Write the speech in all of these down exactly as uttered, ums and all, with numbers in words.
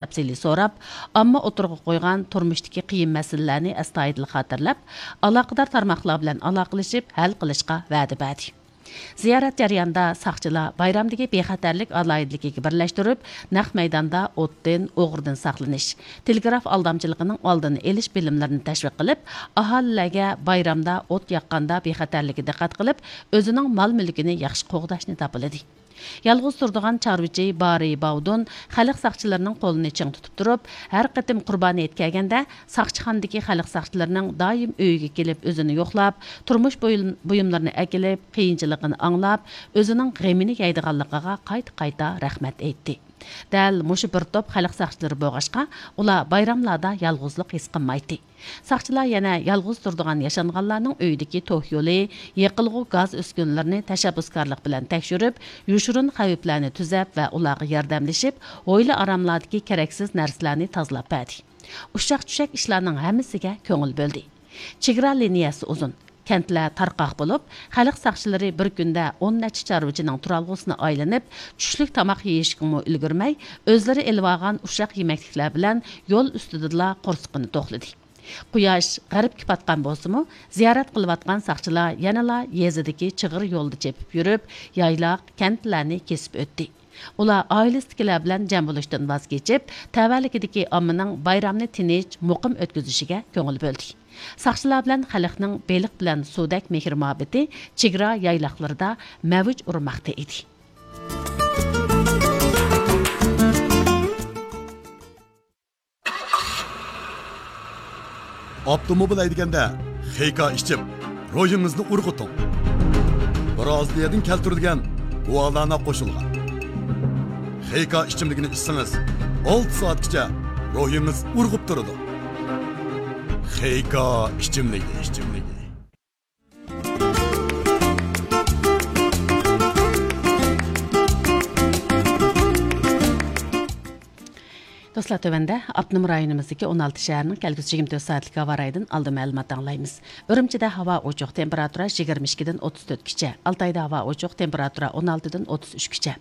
تەپسىلىي سوراپ، ئامما ئوتتۇرىغا قويغان تۇرمۇشتىكى قىيىن مەسىلىلەرنى ئەستايىدىل خاتىرىلەپ، ئالاقىدار تارماقلار بىلەن ئالاقىلىشىپ ھەل قىلىشقا ۋەدە بەردى. زىيارەت جەريانىدا ساقچىلار بايرامدىكى بىخەتەرلىك ئالاھىدىلىكىگە بىرلەشتۈرۈپ، نەق مەيداندا ئوتتىن، ئوغرىدىن ساقلىنىش، تېلېگراف ئالدامچىلىقىنىڭ ئالدىنى ئېلىش بىلىملىرىنى تەشۋىق قىلىپ، ئاھالىلەرگە بايرامدا ئوت ياققاندا بىخەتەرلىككە دىققەت قىلىپ، ئۆزىنىڭ مال-مۈلكىنى ياخشى قوغداشنى تاپىلىدى. يالغۇز تۇرىدىغان چارۋىچى بارى باۋدۇن خەلق ساقچىلىرىنىڭ قولىنى چىڭ تۇتۇپ تۇرۇپ، ھەر قېتىم قۇربانى ھېيت كەلگەندە، ساقچىخانىدىكى خەلق ساقچىلىرىنىڭ دائىم ئۆيىگە كېلىپ ئۆزىنى يوقلاپ، تۇرمۇش بۇيۇم-، بۇيۇملىرىنى ئەكېلىپ، قىيىنچىلىقىنى ئاڭلاپ، ئۆزىنىڭ غېمىنى يەيدىغانلىقىغا قايتا-قايتا رەھمەت ئېيتتى. دەل مۇشۇ بىر توپ خەلق ساقچىلىرى بولغاچقا، ئۇلار بايراملاردا يالغۇزلۇق ھېس قىلمايتتى. ساقچىلار يەنە يالغۇز تۇرىدىغان ياشانغانلارنىڭ ئۆيىدىكى توك يولى، يېقىلغۇ گاز ئۈسكۈنىلىرىنى تەشەببۇسكارلىق بىلەن تەكشۈرۈپ، يوشۇرۇن خەۋپلەرنى تۈزەپ ۋە ئۇلارغا ياردەملىشىپ، ھويلا ئاراملاردىكى كېرەكسىز نەرسىلەرنى تازىلاپ بەردى. ئۇششاق-چۈششەك ئىشلارنىڭ ھەممىسىگە كۆڭۈل بۆلدى. چېگرا لىنىيەسى ئۇزۇن، كەنتلەر تارقاق بولۇپ، خەلق ساقچىلىرى بىر كۈندە ئون نەچچە چارۋىچىنىڭ تۇرالغۇسىنى ئايلىنىپ، چۈشلۈك تاماق يېيىشكىمۇ ئۈلگۈرمەي، ئۆزلىرى ئېلىۋالغان ئۇششاق يېمەكلىكلەر بىلەن يول ئۈستىدىلا قورسىقىنى توقلىدى. قۇياش غەربكە پاتقان بولسىمۇ، زىيارەت قىلىۋاتقان ساقچىلار يەنىلا يېزىدىكى چىغىر يولدا چېپىپ يۈرۈپ، يايلاق، كەنتلەرنى كېسىپ ئۆتتى. ئۇلار ئائىلىسىدىكىلەر بىلەن جەم بولۇشتىن ۋاز كېچىپ، تەۋەلىكىدىكى ئاممىنىڭ بايرامنى تىنچ، مۇقىم ئۆتكۈزۈشىگە كۆڭۈل بۆلدى. ساقچىلار بىلەن خەلقنىڭ بېلىق بىلەن سۇدەك مېھىر-مۇھەببىتى چېگرا يايلاقلىرىدا مەۋج ئۇرماقتا ئىدى. ئاپتوموبىل ھەيدىگەندە خېيكا ئىچىپ، روھىڭىزنى ئۇرغۇتۇڭ. برازىلىيەدىن كەلتۈرۈلگەن گۇالانا قوشۇلغان خېيكا ئىچىملىكىنى ئىچسىڭىز، ئالتە سائەتكىچە روھىڭىز ئۇرغۇپ تۇرىدۇ. خېيكا ئىچىملىكى، ئىچىملىكى. دوستلار، تۆۋەندە ئاپتونوم رايونىمىزدىكى ئون ئالتە شەھەرنىڭ كەلگۈسى يىگىرمە تۆت سائەتلىك ھاۋا رايىدىن ئالدىن مەلۇمات ئاڭلايمىز. ئۈرۈمچىدە ھاۋا ئوچۇق، تېمپېراتۇرا يىگىرمە ئىككىدىن ئوتتۇز تۆتكىچە. ئالتايدا ھاۋا ئوچۇق، تېمپېراتۇرا ئون ئالتىدىن ئوتتۇز ئۈچكىچە.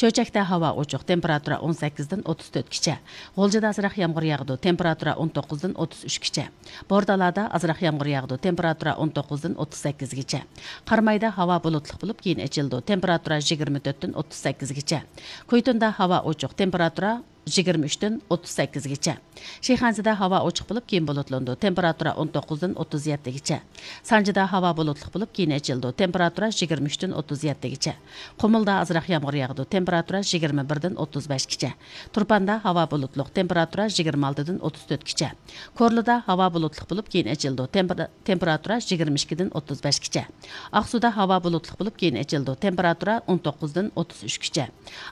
چۆچەكتە ھاۋا ئوچۇق، تېمپېراتۇرا ئون سەككىزدىن ئوتتۇز تۆتكىچە. غۇلجىدا ئازراق يامغۇر ياغىدۇ، تېمپېراتۇرا ئون توققۇزدىن ئوتتۇز ئۈچكىچە. بورتالادا ئازراق يامغۇر ياغىدۇ، تېمپېراتۇرا ئون توققۇزدىن ئوتتۇز سەككىزگىچە. قارامايدا ھاۋا بۇلۇتلۇق بولۇپ، كېيىن ئېچىلىدۇ، تېمپېراتۇرا يىگىرمە تۆتتىن ئوتتۇز سەككىزگىچە. كۇيتۇندا ھاۋا ئوچۇق، تېمپېراتۇرا يىگىرمە ئۈچتىن ئوتتۇز سەككىزگىچە. شىخەنزىدە ھاۋا ئوچۇق بولۇپ، كېيىن بۇلۇتلىنىدۇ، تېمپېراتۇرا ئون توققۇزدىن ئوتتۇز يەتتىگىچە. سانجىدا ھاۋا بۇلۇتلۇق بولۇپ، كېيىن ئېچىلىدۇ، تېمپېراتۇرا يىگىرمە ئۈچتىن ئوتتۇز يەتتىگىچە. قۇمۇلدا ئازراق يامغۇر ياغىدۇ، تېمپېراتۇرا يىگىرمە بىردىن ئوتتۇز بەشكىچە. تۇرپاندا ھاۋا بۇلۇتلۇق، تېمپېراتۇرا يىگىرمە ئالتىدىن ئوتتۇز تۆتكىچە. كورلىدا ھاۋا بۇلۇتلۇق بولۇپ، كېيىن ئېچىلىدۇ، تېمپېرا-، تېمپېراتۇرا يىگىرمە ئىككىدىن ئوتتۇز بەشكىچە. ئاقسۇدا ھاۋا بۇلۇتلۇق بولۇپ، كېيىن ئېچىلىدۇ، تېمپېراتۇرا ئون توققۇزدىن ئوتتۇز ئۈچكىچە.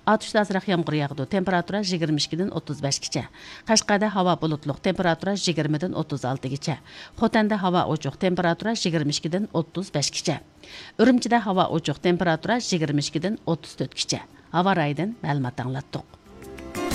ئاتۇشتا ئازراق يامغۇر ياغىدۇ، تېمپېراتۇرا يىگىرمە ئىككىدىن ئوتتۇز بەشكىچە. قەشقەردە ھاۋا بۇلۇتلۇق، تېمپېراتۇرا يىگىرمىدىن ئوتتۇز ئالتىگىچە. خوتەندە ھاۋا ئوچۇق، تېمپېراتۇرا يىگىرمە ئىككىدىن ئوتتۇز بەشكىچە. ئۈرۈمچىدە ھاۋا ئوچۇق، تېمپېراتۇرا يىگىرمە ئىككىدىن ئوتتۇز تۆتكىچە. ھاۋا رايىدىن مەلۇمات ئاڭلاتتۇق.